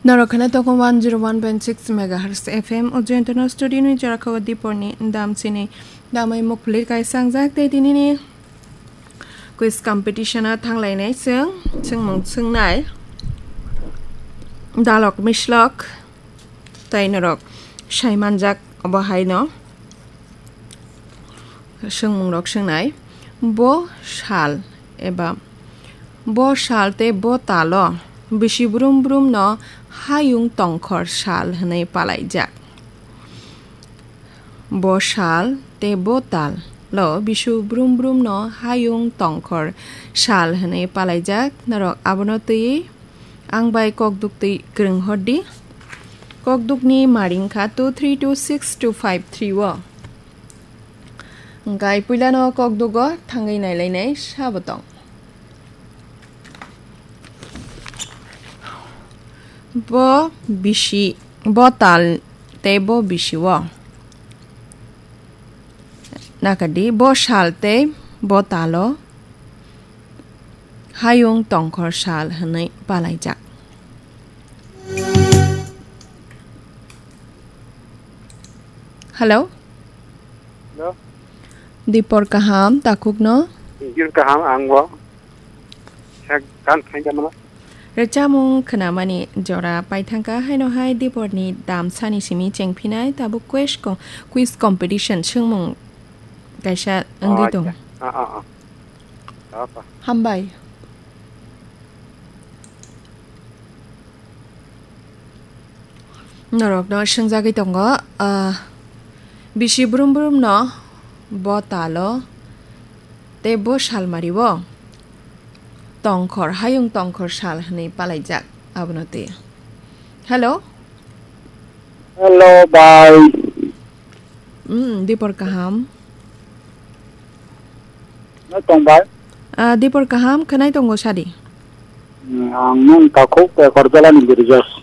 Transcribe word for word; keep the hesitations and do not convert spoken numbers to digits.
Norok kheno tokon one zero one point six megahertz F M o Joyantano studio ni jora khago Diporni dam chini damai mukphulir kaisa angjak tei tinini quiz competition o thanglainai chwng, chwngmung chwngnai dalok mislok tei norok sai manjak obo haino. Swngmungrok swngnai, bo sal eba bo sal tei bo talo bisi brum brum no hayung tongkhor sal hwnwi palaijak. Bo sal tei bo tal lo bisu brum brum no hayung tongkhor sal hwnwi palaijak. Norok abono twiwi ang bai kokduk twi kwrwng hordi. Kokdukni maring kha two three two six two five three o. Hwnkhe puilano kokdugo thangwi nailainai sabo tong. Bo bisi, bo tal tei bo bisi o. Nakadi, bo sal tei bo talo hayung tongkhor sal hwnwi palaijak. Hello? Hello? Dipor kaham, takhukno? Jil kaham, ang bo. Sak gan khainja mano. Rwchapmung khwnamani jora paithangkha, haino hai Diporni damsani simi chengphinai, tabuk quiz co-, quiz competition swngmung kaisa wngwi Oh, tong. Acha. Ah, ah, ah. Apa? Hambai. Norokno swngjagwi tongo, ah, bisi brum brumno bo talo tei bo salmario tongkhor, hayung tongkhor sal hwnwi palaijak abono twi. Hello? Hello, bhai. Hmm, Dipor kaham. No tong, bhai? Ah, Dipor kaham, khwnai tongo sadi. Hmm, ang nung takhuk, eh, Korjala ni Girjas.